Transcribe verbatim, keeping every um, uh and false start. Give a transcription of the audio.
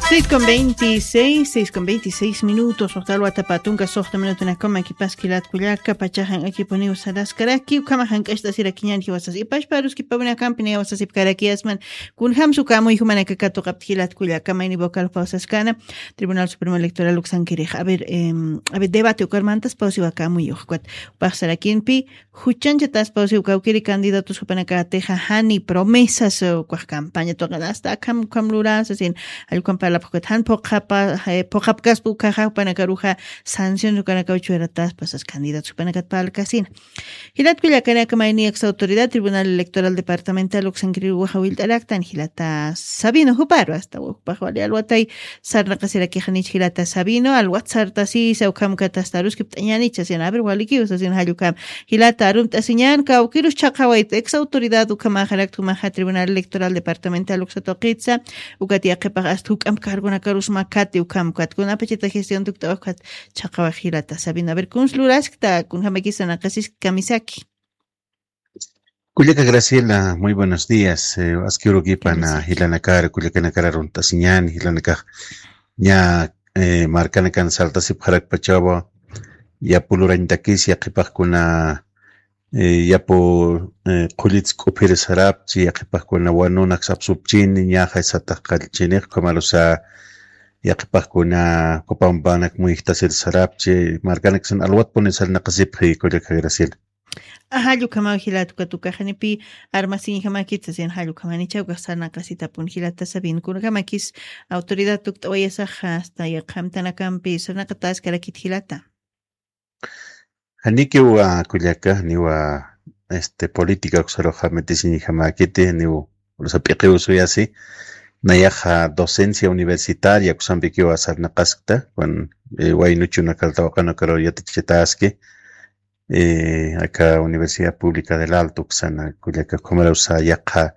Seis con veintiséis, seis con veintiséis minutos, waqta alwatapatunka suxta minutunakama kipas kilat kullaka, pachaxan akipuniw saraskaraki, ukhama jank'acht'asirakiñan jiwasas, ipashparuskipawinakampi niwasasipkarakiyasman, kunjamsu kamuy jumanaka katuqapti jilat kullaka, mayni vocal pausaskana, Tribunal Supremo Electoral uksankirix. A ver, em, a ver, debate ukarmantas pausiwa kamuy ukhkwat, upaxsarakinpi, juchanchatas pausiw kawkiri candidatos jupanakatixa jani promesas, eh, ukax campaña tuqin hasta akham ukham lurasa sin, allukam parlapxukat jan phuqhapa, eh, phuqhapkaspa ukaxa jupanakaruxa sanción ukanakaw chuwirataspa sas candidatos jupanakat parlkasina. Jilat kullakanaka mayni ex autoridad Tribunal Electoral Departamental uksankiriw waxa willt'araktan jilata Sabino juparu hasta jupax wali alwatay sarnaqasirakixanich jilata Sabino, alwat sartasisa ukham katastaruskipt'añanicha sin, a ver, walikiw sasin jallukam. Jilata arumt'asiñan, kawkirus chhaqawayt ex autoridad ukhamaxarakta jumaxa Tribunal Electoral Departamental uksa tuqitsa, ukat yaqhipax hasta juk'amp cargonakarus makati ukham ukat, kunapachata gestión tukt'awax ukat chhaqawax jilata Sabino. A ver, kuns luraskta, kunjamakis sarnaqasiskta kamisaki. Kullaka Graciela, muy buenos días. Eh, aski urukipana jilanakar, kullakanakar arunt'asiñan, jilanakax ña, eh, markanakan saltasipxarakpachawa, yapu lurañtakis, yaqhipaxkuna, eh, yapu, eh, qhullits k'uphir sarapchi, yaqhipaxkuna wanunak sapsupchini, ñaxa satax qallchinix, ukhamarusa, yaqhipaxkuna, Copambanak muyjtasir sarapchi, markanaksan alwatpuni sarnaqasipxi, kullaka Graciela. Ajá, llukamaw jilata ukat ukaxanipi armasiñjamakit sasin, jallukhamanicha ukax sarnaqasitapun jilata Sabino, kunjamakis autoridad tukt'awayasaxa hasta yaqha amtanakampi sarnaqataskarakit jilata. Janikiw, ah, kullaka, niwa, este, política uksaruxa metisiñjamakiti, niw, usa p'iqiw suyasi, nayaxa docencia universitaria uksampikiw sarnaqaskta, wan, eh, waynuchuna kartawaqanakaru yatichitaski, eh, aka Universidad Pública del Alto uksana, kullaka, ukhamarusa yaqha